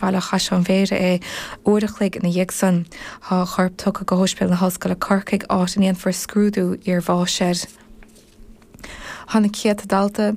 Baile Chaisleáin Bhéarra é uair a chloig ina dhiaidh san. Tá a chorp tugtha go hOspidéal na hOllscoile Corcaigh áit a ndéanfar scrúdú iarbháis air. Tá na céadta dalta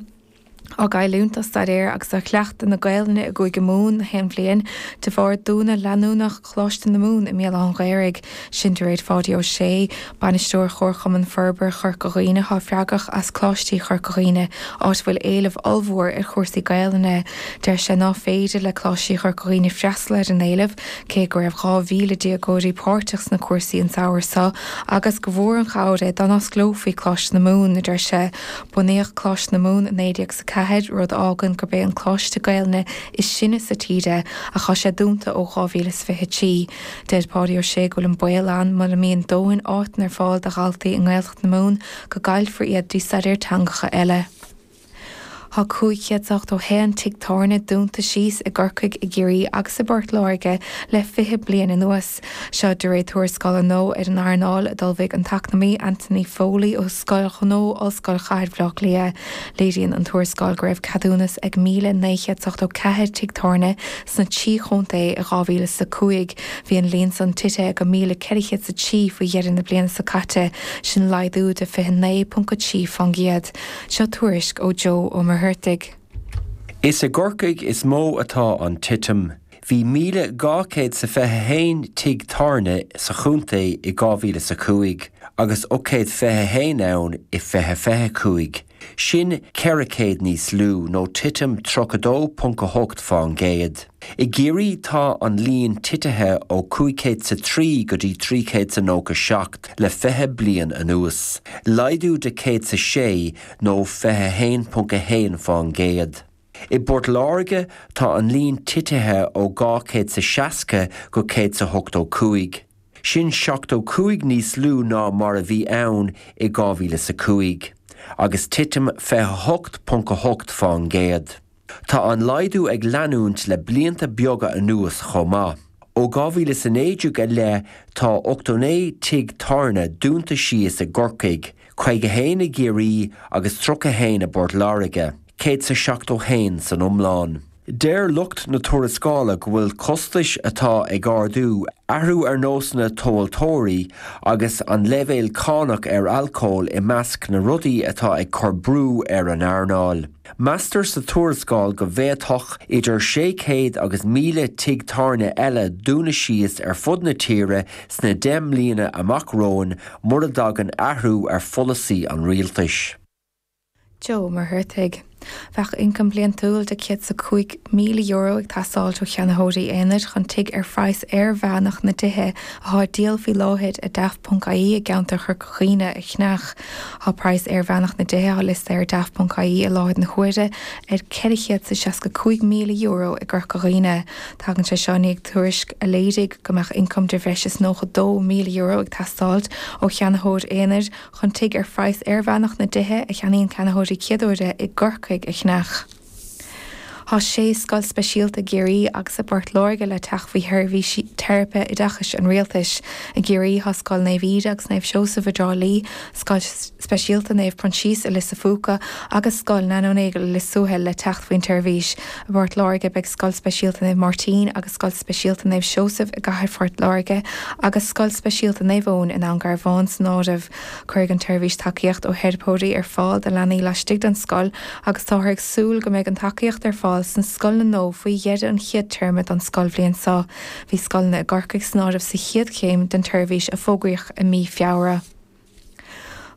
á gcailliúint dá staidéar agus do chleachtadh na Gaelainne i gCúige Mumhan na haon bhliain de bharr dúnadh leanúnach Choláiste na Mumhan i mBéal Átha an Ghaorthaidh. Sin de réir Pháidí Ó Sé, Bainisteoir Chomharchumann Forbartha Chorca Dhuibhne atá freagrach as Coláistí Chorca Dhuibhne, áit a bhfuil éileamh ollmhór ar chúrsaí Gaelainne. Deir sé ná féidir le Coláistí Chorca Dhuibhne freastal ar an éileamh, cé go raibh 2,000 déagóirí páirteach sna cúrsaí an samhradh seo agus gur mhór an chabhair é dá n-osclófaí Coláiste na Mumhan, a deir sé. Bunaíodh Coláiste na Mumhan i 1904, rud a fhágann gurb é an coláiste Gaelainne is sine sa tír é, ach tá sé dúnta ó 2023. Deir Páidí Ó Sé go bhfuil an baol ann mura mbíonn dóthain áiteanna ar fáil do dhaltaí i nGaeltacht na Mumhan go gcaillfear iad dtí staidéar teangacha eile. Tá 581 tigh tábhairne dúnta síos i gCorcaigh, i gCiarraí agus i bPort Láirge le 20 bliain anuas. Seo de réir tuarascála nua ar an earnáil a d'ullmhaigh an t-eacnamaí Anthony Foley ó Scoil Ghnó Ollscoil Chathair Bhaile Átha Cliath. Léiríonn an tuarascáil go raibh ceadúnas ag 1,984 tigh tábhairne sna trí chontae i 2005. Bhí an líon san tite go 1,403 faoi dheireadh na bliana seo caite, sin laghdú de 29.3 fán gcéad. Seo tuairisc ó Joe Ó Muircheartaigh. Is i gCorcaigh is mó atá an titim. Bhí 1,221 tigh tábhairne sa chontae i 2005 agus 821 ann i 2025. Sin 400 níos lú, nó titim 32.8 fán gcéad. I gCiarraí tá an líon titithe ó 503 go dtí 397 le 20 bliain anuas, laghdú de 106 nó 21.1 fán gcéad. I bPort Láirge tá an líon titithe ó 260 go 185. Sin 75 níos lú ná mar a bhí ann i 2005, agus titim 28.8 fán gcéad. Tá an laghdú ag leanúint le blianta beaga anuas chomh maith. Ó 2019 i leith tá 89 tigh tábhairne dúnta síos i gCorcaigh, 51 i gCiarraí agus 31 i bPort Láirge, 171 san iomlán. Deir lucht na tuarascála go bhfuil costais atá ag ardú, athrú ar nósanna tomhaltóirí agus an leibhéal cánach ar alcól i measc na rudaí atá ag cur brú ar an earnáil. Meastar sa tuarascáil go bhféadfadh idir 600 agus 1,000 tigh tábhairne eile dúnadh síos ar fud na tíre sna 10 mbliana amach romhainn mura dtagann athrú ar pholasaí an rialtais. Joe Ó Muircheartaigh. Bheadh ioncam bliantúil de €105,000 ag teastáilt ó cheannaitheoirí aonair chun tigh ar phraghas airmheánach na dtithe atá á díol faoi láthair ar Daft.ie i gceantar Chorca Dhuibhne a cheannach. Tá praghas airmheánach na dtithe atá liostaithe ar Daft.ie i láthair na huaire ar €465,000 i gCorca Dhuibhne. Tagann sé seo i ndiaidh tuairisc a léirigh go mbeadh ioncam de bhreis is €92,000 ag teastáilt ó cheannaitheoir aonair chun tigh ar phraghas airmheánach na dtithe a cheannaíonn ceannaitheoirí céaduaire i gCorcaigh a cheannach. Tá sé scoil speisialta i gCiarraí agus i bPort Láirge le teacht faoi sheirbhísí teiripe oideachais an Rialtais. I gCiarraí tá Scoil Naomh Íde agus Naomh Seosamh i dTrá Lí, Scoil Speisialta Naomh Proinsias i Lios a' Phúca agus Scoil Nano Nagle i Lios Tuathail le teacht faoin tseirbhís. I bPort Láirge beidh Scoil Speisialta Naomh Máirtín agus Scoil Speisialta Naomh Seosamh i gcathair Phort Láirge agus Scoil Speisialta Naomh Eoin i nDún Garbhán san áireamh. Cuirfidh an tseirbhís tacaíocht ó theiripeoirí ar fáil do leanaí laistigh den scoil agus táthar ag súil go mbeidh an tacaíocht ar fáil sna scoileanna nua faoi dheireadh an chéad téarma don scoilbhliain seo. Bhí scoileanna i gCorcaigh san áireamh sa chéad chéim den tseirbhís a fógraíodh i mí Feabhra.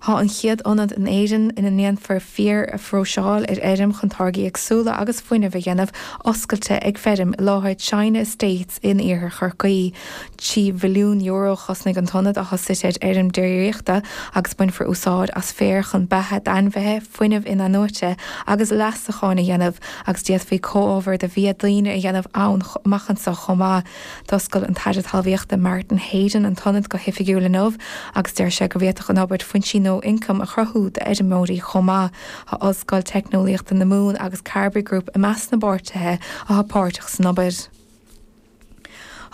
Tá an chéad ionad in Éirinn ina ndéanfar féar a phróiseáil ar fheirm chun táirgí éagsúla agus fuinneamh a dhéanamh oscailte ag feirm i láthair China Estates in iarthar Chorcaí. €3 mhilliún a chosnaigh an t-ionad atá suite ar fheirm déiríochta agus bainfear úsáid as féar chun beatha d'ainmhithe, fuinneamh in-athnuaite agus leasacháin a dhéanamh agus d'fhéadfaí comhábhair do bhia daoine a dhéanamh ann amach anseo chomh maith. D'oscail an tAire Talmhaíochta Martin Heydon an t-ionad go hoifigiúil inniu agus deir sé go bhféadfadh an obair foinsí nua ioncaim a chruthú d'fheirmeoirí chomh maith. Tá Ollscoil Teicneolaíochta na Mumhan agus Carbery Group i measc na bpáirtithe atá páirteach san obair.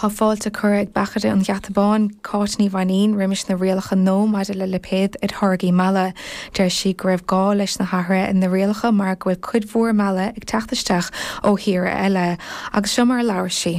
Tá fáilte curtha ag Beachaide an Gheata Báin, Cáit Ní Mhainín, roimis na rialacha nua maidir le lipéad ar tháirgí meala. Deir sí go raibh gá leis na hathruithe ar na rialacha mar go bhfuil cuid mhór meala ag teacht isteach ó thíortha eile. Agus seo mar a labhair sí.